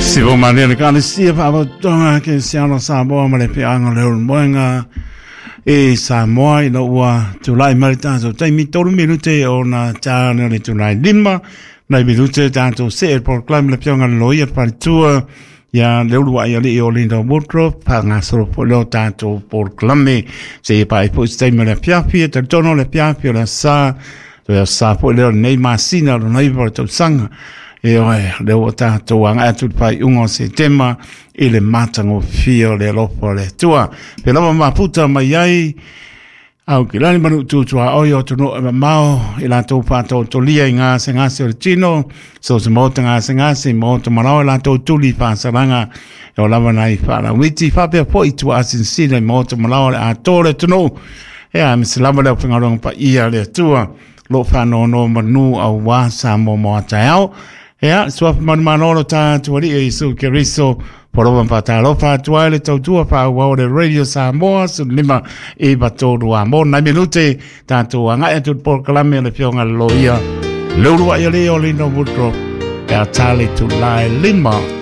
Sivo malia le kalesia whaavatonga ke siano Samoa ma le peanga le moenga e Samoa ina ua tulai mai le tātou taimi 3 minute o na tāne o le tulai 5 nai minute tātou se e proclaim le pionga le loia paletua ia le ulu ai ali o Linda Woodruff pa ngā soro po leo tātou proclame se e pai po se taimi o le piapi e tautono le piapi o le sa to sa po leo nei masina o nei po tausanga e oe le ua tātou anga atu le pai unga o se tema i le matagofie o le alofa o le Atua. Pe lava mafuta mai ai, au ki lani manu tutua oi o tunu e mamao i latou whaatotolia i ngā se o le tino, so se mota ngā se ngā mota marao i latou tuli whaasaranga e o lava nei whaarawiti, whapea po i tua asinsina i mota marao le atore tunu. E a me se lava leo whangaronga pa ia le Atua, lo whanono manu au wā sa mo mo ataiao. Ea, suafa manumanolo tātou alii e Isu Keriso, Porova whātārofa atu ai le tautua whaua o le Radio Samoa, 15 i 3 a mō nai minute, tātou angai atu le polokalame o le whionga le loia, leurua i le o Lino Woodruff, e a tale tu lai 5.